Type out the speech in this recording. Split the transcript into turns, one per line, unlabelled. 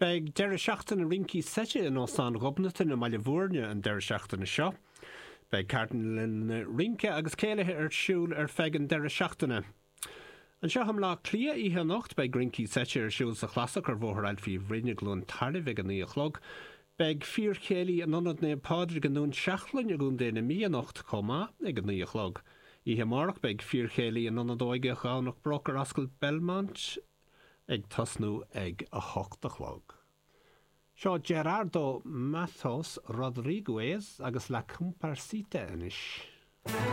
Beidh deireadh seachtaine rincí seite in Óstán Ghobnatan i mBaile Bhúirne an deireadh seachtaine seo. Beidh ceardlanna rince agus céilithe ar siúl ar feadh an deireadh seachtaine. Anseo i mBleá Cliath oíche anocht beidh rincí seite ar siúl sa Chlasach ar Bhóthar Ailfí Bhroin i gCluain Tairbh ag a 9 a chlog. Beidh fíorchéilí in Ionad Naomh Pádraig i nDún Seachlainn i gContae na Mí anocht chomh maith ag a 9 a chlog. Oíche amárach beidh fíorchéilí in Ionad Óige Dhomhnach Broc ar Ascaill Belmont ag tosnú ag 8 a chlog. Seo Gerardo Matos Rodriguez agus La Cumparsita anois.